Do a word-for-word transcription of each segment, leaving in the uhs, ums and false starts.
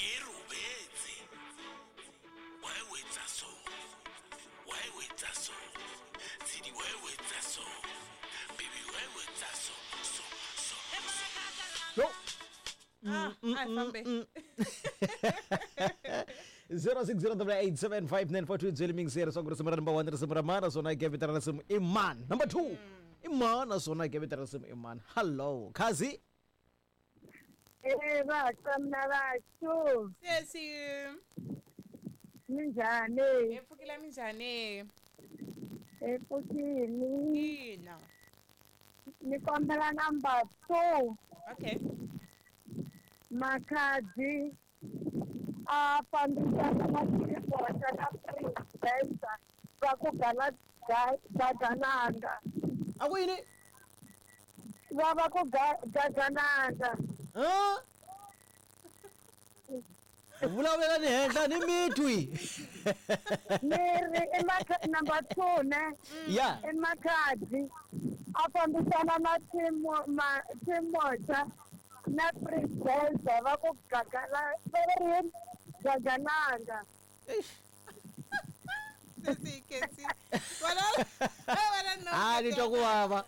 Ke robetse. Why o etsa so? Why o etsa so? Tshidi, why o etsa so? Baby, why o etsa so? So, so, so. Yo. Ah, a hi fambe. zero six zero double eight seven five nine four two byeli mingiseri swa ku risimu ra number one risimu ra mani naswona ke vito ra risimu i mani. Number two i mani naswona ke vito ra risimu i mani. Hello khazi. Eh vatswana vathu. Sesi. Minjhani? Hi pfukile minjhani? Hi pfukile. Ina. Ni kombela number two. Okay. Makhadzi a fambisana na xipota na president va ku gala gagananga. A ku yini? Va va ku gagananga. Ha? Vulavula ni henhla ni mitwi. Ni ri i number two ne? Yeah. I Makhadzi a fambisana na team ma team na president va ku gagala va ri gagananga. Eish. Sesi kesi. Wala wala no. Ah, ni twa ku vava.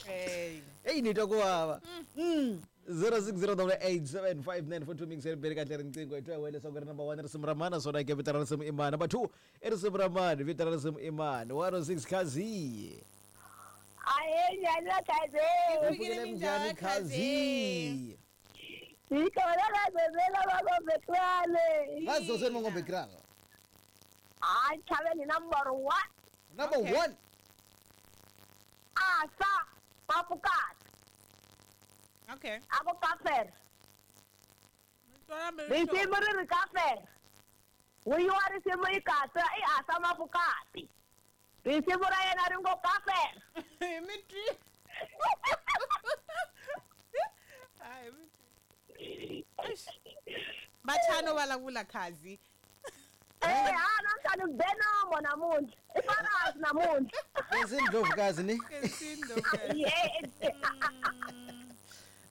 Hey. Hey, ni twa ku vava. Mm. zero six zero double eight seven five nine four two mingiseri beri kahle riqingho hi twa hi wena leswaku ri number one risimu ra mani naswona ke vito ra risimu i mani. Number two i risimu ra mani, vito ra risimu i mani. one oh six Khazi. Ahe njhani Khazi? Pfukile minjhani Khazi? Hi kona Kazozela va Ngombekrale. Kazozela va Ngombekrale. Hayi chaveni number one. Number Okay. one. Asa Mafukati. Okay. A ku kafer. Risimu ri ri kafer. Wuyiwa risimu yi katsa i Asa Mafukati. Risimu ra yena ri ngo kafer. Hi mitwi. Hayi mitwi. Bachano vulavula Khazi. Eh ha namhlanje ngibenomo namuntlha. I fakazi namuntlha. Kesi Ndlovukazi ni? Kesi Ndlovukazi. Yeah.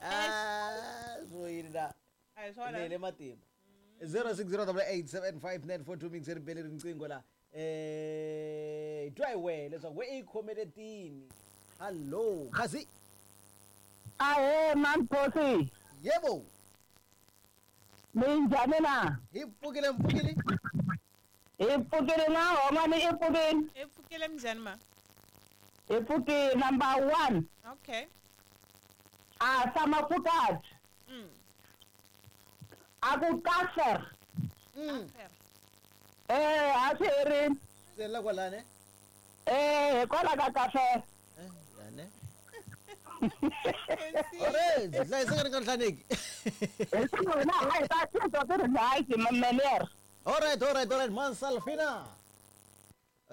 Ah, so yini la? Hayi swona. Le matimba. zero six zero double eight seven five nine four two mingiseri beli riqingho la. Eh, twa hi wena leswaku we i khomeletini. Hello, Khazi. Ahe Mankosi. Yebo. Minjhani na? Hi pfukile mpfukile. Hi pfukile na homa ni i pfukile. Hi pfukile minjhani ma? Hi pfukile number one. Okay. Asa Mafukati. Mm. A ku kafer. Mm. Eh, a swi herini. Se la kwalani? Eh, hikwalaho ka kafer. Eh, yani. Ore, hlayiseka ni nga nhlaneki. Hi hi ta titwa ti ri right mameler. All right, all right, all right, Mansalfina.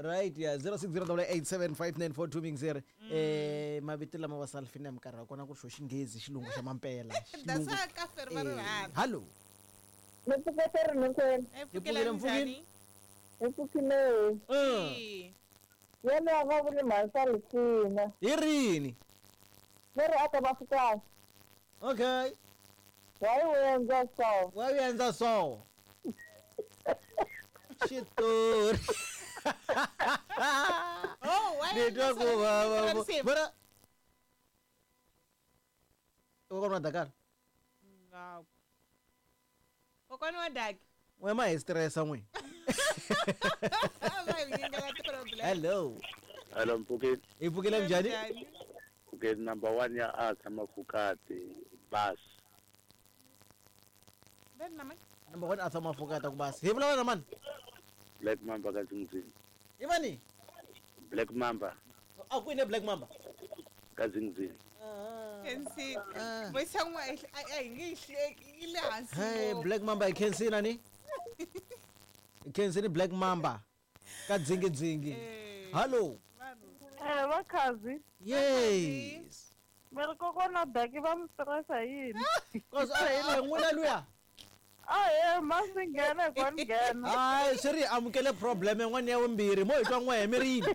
Right, yeah, zero six zero double eight seven five nine four two mingiseri. Eh, mavito lama wa Salfina hi minkarhi ya kona ku ri xo xinghezi xilungu xa mampela. That's why kafer va ri rhandza. Hello. Ni pfuketeri hinkwenu. Hi pfukile minjhani? Hi pfukile. Mm. Yena va vuli Mansalfina. Hi rini? Ni ri aka Mafukati. Okay. Why u endla so? Why u endla so? Xitori. Oh, why Ni twa ku vava. Mara kokwana wa Dakar. Ngaku. Kokwana wa Daki. N'we ma hi stressa n'we. Va hi nyikela ti-problem. Hello. Hello Mpfukile. Hi pfukile njhani? Okay, number one ya Asa Mafukati bas. Ben na mani? Number one Asa Mafukati ku bas. Hi vulavula na mani? Black Mamba ka Zingzing. I mani? Black Mamba. A ku yini Black Mamba? Ka Zingzing. Kensi. Voice ya n'we a hi nge yi hleki yi le hansi. Hey, ngopfu. Black Mamba i khensini ni? I khensini Black Mamba ka dzingidzingi. Eh. Hello. Eh, va Khazi. Yes. Mi ri kokwana Daki va mi stressa yini? Cause a hi le n'wina luya. Ahe, ma swi nghena hi ku ni nghena. Hayi, swi ri amukele problem yin'wana ya vumbirhi mo hi twa n'we mi ri yini?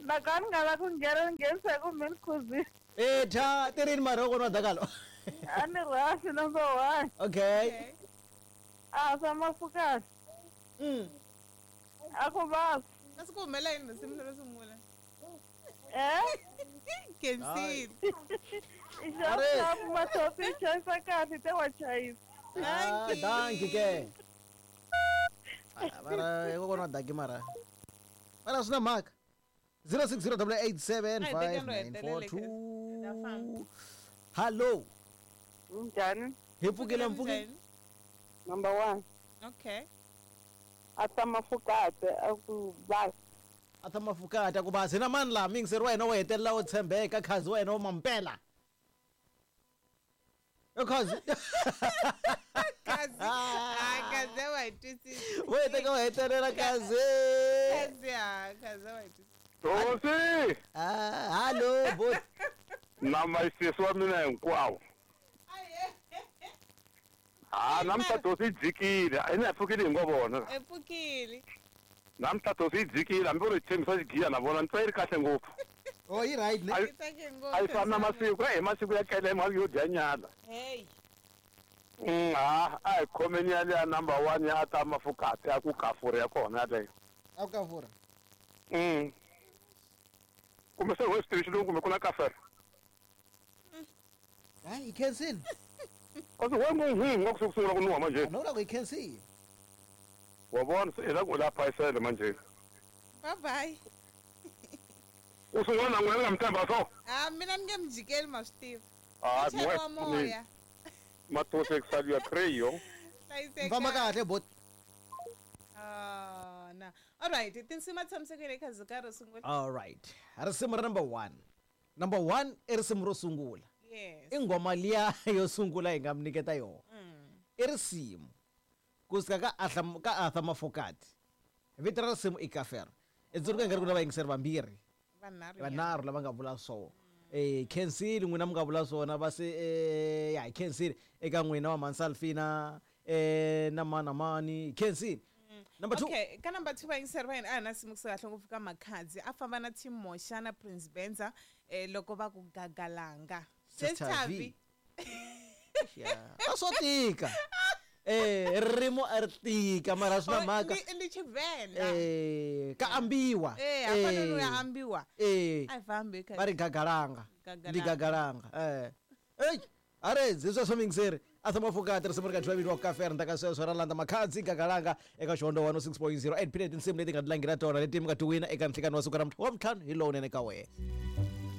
Loko a ni nga la ku nghena ni nghenisa hi ku mi ni khuzile. Eh, tha ti rini mara kokwana wa Dakalo? A ni rhasi number one. Okay. Arthur Mafokate. Mm. A ku basa. A swi ku humela yini risimu lero sungula? Eh? Khensile. I xapu mathopi i chayisa kahle te wa chayisa. Ah, dankie ke. Ah, mara hikokwalaho daki mara. Mara swi na mhaka. zero six zero double eight seven five nine four two. Hello. Njhani? Hi pfukile mpfukile. Number one. Okay. Arthur Mafokate a ku basa. Arthur Mafokate a ku basa. Hina mani laha miyingiseri wa hina wo hetelela wo tshembeka khazi wa hina wo mampela. Yo khazi. Kazi. Ah, kazi wa hi twisisi. Wo heteka wo hetelela khazi. Kazi ah, kazi wa hi twisisi. Hosi! Ah, hello bot. Na masisi wa mina hinkwawo. Ah, namuntlha tosi yi dzikile. A yi pfukile hi ngo vona. E pfukile. Namuntlha tosi yi dzikile hambi u ri tshembisa xigiya na vona ni twa yi ri kahle ngopfu. Oh, yi right ne? Yi tsake ngopfu. A yi fani na masiku, eh masiku ya kele mali yo dya nyala. Hey. Mm, ah, a hi khomeni ya leya number one ya Arthur Mafokate ya ku kafura ya kona yaleyo. A ku kafura. Mm. Kumbe se ho swi tivi xilungu kumbe ku na kafera. Hayi, i khensile. Kasi we ngo hmm ngo ku sungula ku nuha manje. No la ku i khensile. Wa vona se ila ku la phayisele manje. Bye bye. U sungula na n'wina nga mi tshemba so? Ah, mina ni nge mi jikeli ma swi tiva. Ah, Chela wa moya. Matose ku creyo. Hlayiseka. Famba kahle bot. Ah, na. All right, tinsimu tshamisekile eka zika ro sungula. All right. Risimu ra number one. Number one i risimu ro sungula. Yes. I nghoma liya yo sungula hi nga mi nyiketa yona. I risimu kusuka ka Arthur ka Arthur Mafokate. Vito ra risimu i Kafera. I tsundzuka nga ri ku na vayingiseri vambirhi. Vanharhu. Vanharhu lava nga vula swona. Eh khensile n'wina mi nga vula swona va se eh ya hi khensile eka n'wina wa Mansalfina eh na mana mani khensile. Number two. Okay, ka number two vayingiseri va hina a hi na nsimu kusuka kahle ngopfu ka Makhadzi a famba na Team Moxa na Prince Benza eh loko va ku gagalanga. Sister Sister V. V. Yeah. A swo tika. Eh ririmi a ri tika mara swi na mhaka. Ndi ndi Tshivenda. Eh ka ambiwa. Eh hafana ya ambiwa. Eh A hi fambi va ri gagalanga. Gagalanga. Ndi gagalanga. Eh. Ey, arezi sweswo miyingiseri. Arthur Mafokate risimu ri ka dyiwa vitiwa Kafera ndzhaku ka sweswo ra landza Makhadzi gagalanga eka Xihondzo one oh six point zero eight period tinsimu leti nga ti langhela tona leti mi nga ti wina eka nhlikani wa siku ra wa ntlhanu hi lowunene ka wena.